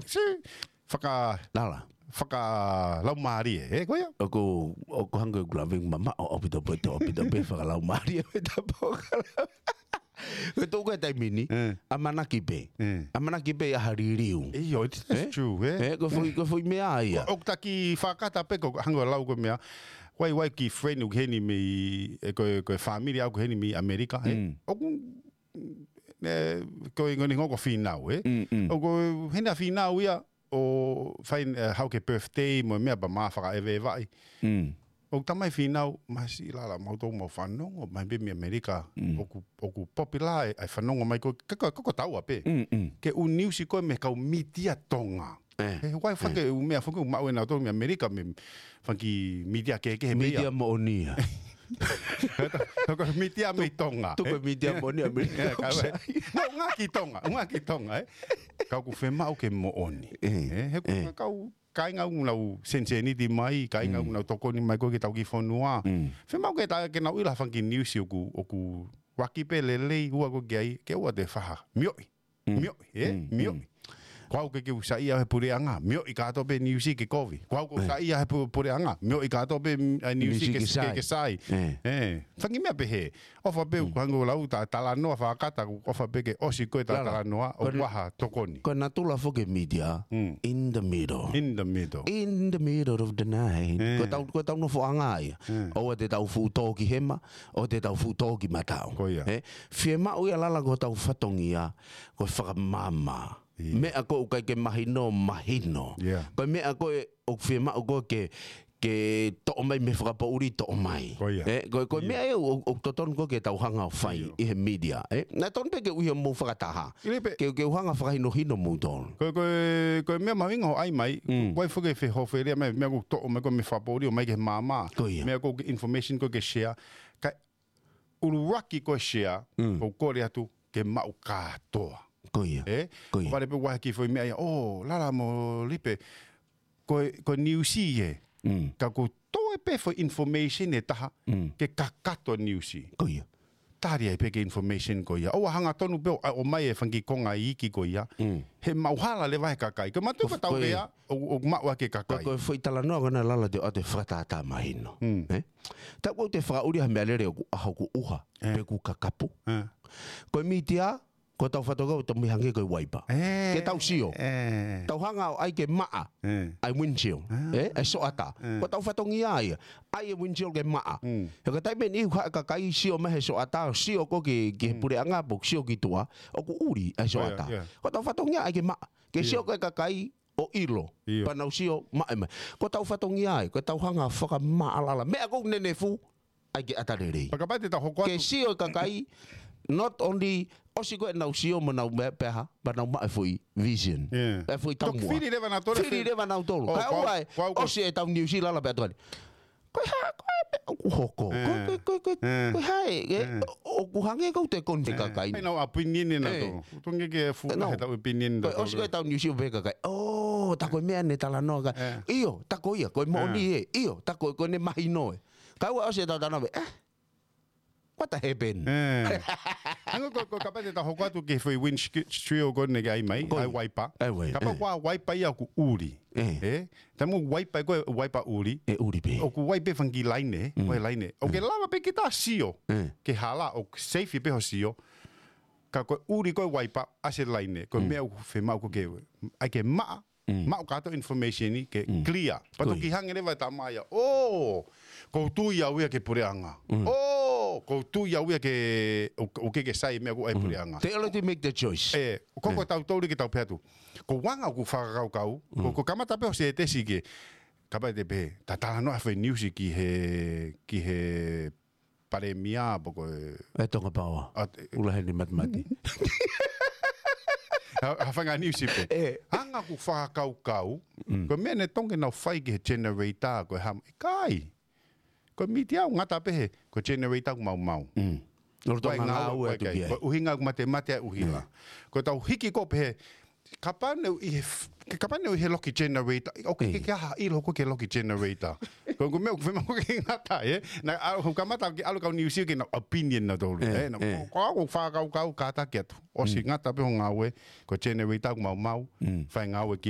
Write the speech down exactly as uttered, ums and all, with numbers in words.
si, faka, Lala. Fakalaumālie, ē, ko ia? ʻOku, ʻoku hangē ʻoku lave mamaʻo ʻaupito pē, ʻaupito pē fakalaumālie ʻo e tapu. Ko e tuʻu ko ē taimi ni, ʻamanaki pē. ʻAmanaki pē ʻa ha liliu. ʻIo, it's, it's true, ē? Ē, ko e foʻi, ko e foʻi meʻa ia. ʻOku taki fakata pē ko hangē ʻoku lau ko e meʻa. Wai, wai ki friend ʻoku heni mei, ē, ko e, ko e family ʻoku heni mei ʻAmelika, ē? ʻOku, ē, ko e ngoni ngoko finau, ē? ʻOku heni ʻa finau ia, ʻo fai, ē, hau ke birthday mo e meʻa pea ma fakaʻeveʻevaʻi. ʻOku tamai finau, masi Lala mau tau mau fanongo, mai pē mei ʻAmelika, ʻoku, ʻoku popular ʻa e fanongo mai ko, ka, ka, ka, ko taua pē. Ke ʻū niusi ko ē mei he kau mītia Tonga. He wai fake ʻū meʻa fake ʻū maʻu ʻe nautolu mei ʻAmelika mei he fanga kiʻi mītia kehekehe pē ia. Mītia moʻoni ia. Ko e mītia mei Tonga. Tuku e mītia moʻoni ʻAmelika. Ka ʻoku sai. No, ʻuhinga ki Tonga, ʻuhinga ki Tonga, ē. Ka ʻoku fiemaʻu ke moʻoni. Ē, he ko e kau kāinga ʻoku nau seniseniti mai, kāinga ʻoku nau tokoni mai ko ē ki he tau kiʻi fonua. Fiemaʻu ke ta, ke nau ʻilo ha fanga kiʻi niusi ʻoku, ʻoku ʻaki pē lelei ua ko ē ki ai, ke ʻoua te faha. Mioʻi. Mioʻi, ē? Mioʻi. Ko au ke ke u saiʻia he puleʻanga, mioʻi kātoa pē niusi ke kovi. Ko au ke u saiʻia he pu-, puleʻanga, mioʻi kātoa pē, mm, ʻa e niusi ke, ke sai. Ē. Fanga kiʻi meʻa pehē. ʻOfa pē ʻoku hangē ʻoku lau ta talanoa fakata, ʻofa pē ke ʻosi ko ē ta talanoa, ʻoku ʻi ai ha tokoni. Ko e natula foki e mītia, in the middle. In the middle. In the middle of the night. Ko e tau, ko e tau nofoʻanga ia. ʻOua te tau fuʻu tō ki hema, ʻoua te tau fuʻu tō ki matau. Ko ia. Ē? Fiemaʻu ia Lala ko e tau fatongia, ko e fakamāmā. Meʻa ko ē ʻoku ʻikai ke mahino, mahino. Ko e meʻa ko ē ʻoku fiemaʻu ko ē ke, ke toʻo mai mei he fakapoʻuli toʻo mai. Ko ia. Ē, ko, ko e meʻa ia ʻoku, ʻoku totonu ko ē ke tau hanga ʻo fai ʻi he mītia. Ē, naʻe totonu pē ke ʻuhi ʻo mou fakataha. Ke, ke u hanga ʻo fakahinohino moutolu. Ko, ko, ko e meʻa mahuʻinga hoʻo ʻai mai, ko e foki e fehofelia mai, meʻa ʻoku toʻo mai ko ē mei he fakapoʻuli ʻo mai ki he māmā. Ko ia. Meʻa ko ē ke information ko ē ke share. Ka ʻuluaki ko e share, ʻoku ou kole atu ke maʻu kātoa. Ko ia. Ē? Ko ia. ʻOku vale pē ʻoku ʻi ai ha kiʻi foʻi meʻa ia, ʻo, Lala mo Lipe, ko e, ko e niusi ē. Ka ʻoku toe pē foʻi information ʻe taha, ke kakato niusi. Ko ia. Tali ai pē ki he information ko ia. ʻOua hangatonu pē ʻo, ʻomai e fanga kiʻi konga iiki ko ia. He maʻuhala leva he kakai. Ko e mātuʻa ko e tau lea, ʻo, ʻo maʻu ʻaki e kakai. Ko e foʻi talanoa ko ena Lala te u ʻoatu e fakatātā mahino. Ē? Tapu ʻoku te fakaʻuli ha meʻalele ʻoku ʻaho ʻoku ʻuha, pe ʻoku kakapu. Ko e mītia, ko e tau fatongia ʻoku tau mei hangē ko e waipa. Ke tau sio. Tau hanga ʻo ʻai ke maʻa. ʻA e windshield. Ē? ʻA e soʻata. Ko e tau fatongia ia. ʻAi e windshield ke maʻa. He ka taimi ʻe niʻihi ʻoku haʻu e kakai sio mai he soʻata, sio ko ē ki, ki he puleʻanga pe ʻoku sio ki tuʻa, ʻoku ʻuli ʻa e soʻata. Ko e tau fatongia ʻai ke maʻa. Ke sio ko ē kakai, ʻo ʻilo. Pea nau sio maʻa mai. Ko e tau fatongia ia, ko e tau hanga fakamaʻalala. Meʻa ʻoku nenefu, ʻai ke ʻata lelei. Pea kapau te tau hoko atu. Ke sio e kakai, not only, ʻosi ko ē nau sio mo nau meʻa pē ha, pea nau maʻu e foʻi vision. ʻE foʻi taumuʻa. Fili leva nautolu. Fili leva nautolu. Kae ʻoua ʻe ʻosi e tau niusi Lala pea tuali. Ko e hā, ko e meʻa ʻoku hoko. Ko e, ko e, ko e, ko e hā ē, ʻoku hangē ʻoku te koni fekakaina. ʻAi nau opinion ʻe nautolu. Tongi ke fuʻu he tau opinion nautolu. ʻOsi ko e tau niusi ʻo pehē ʻe kakai. ʻŌ, tā ko e meʻa ne talanoa ka. ʻIo, tā ko ia, ko e moʻoni ē. ʻIo, tā ko e, ko ʻene mahino ē. Kae ʻoua ʻosi e tau talanoa ē. What happened? Hangē ko, ko kapau te tau hoko atu ki he foʻi windshield ko ē ne ke ʻai mai, ʻai waipa. Kapau ko e waipa ia ʻoku ʻuli. Ē? Taimi ʻoku waipa ko e waipa ʻuli. ʻE ʻuli pē. ʻOku waipa fanga kiʻi laine, ko e laine. ʻOku ke lava pē ke ta sio. Ke hala, ʻoku safe pē hoʻo sio. Ka ko e ʻuli ko e waipa, ʻasi e laine. Ko e meʻa ʻoku fiemaʻu ko ē ke, ʻai ke maʻa. Maʻu kātoa information ʻi ke clear. Pea toki hangē leva e tama ia. ʻŌ, ʻoku ou tui au ia ki he puleʻanga. ʻŌ, ʻoku ou tui au ia ke, ʻo, ʻoku ke ke sai meʻa ʻoku ʻai puleʻanga. Te ʻalu te make the choice. ʻE, ko, ko tautolu ke tau pehē atu. Ko e anga ʻoku fakakaukau, ko, ko e kamata pē hoʻo sētesi ke, kapau te pehē, ta talanoa foʻi niusi ki he, ki he palēmia pe ko e ʻE Tonga Power. ʻUla Heni Matimati. Ha, ha fanga niusi pē. ʻE. Anga ʻoku fakakaukau, ko e meʻa ne tongi nau fai ki he generator, ko e hā, ʻikai. Ko e mītia ʻoku ngata pē he, ko e generator ʻoku maumau. ʻOku tau ngāue atu ki ai. Ko e ʻuhinga ʻoku matemate ʻa e ʻuhila. Ko e tau hiki ko ē pē he, kapau ne u ʻi he f-, ke kapau ne u ʻi he loki generator. ʻOku ke, ke aha ʻilo ko ē ki he loki generator. Ko e meʻa ʻoku fiemaʻu ke ngata, ē? Naʻa, ʻoku kamata ke ʻalu kau niusi ke nau opinion nautolu, ē? Naʻa, ko, ko au ʻoku fakakaukau kātaki atu. ʻOsi ngata pē hoʻo ngāue, ko e generator ʻoku maumau, fai ngāue ki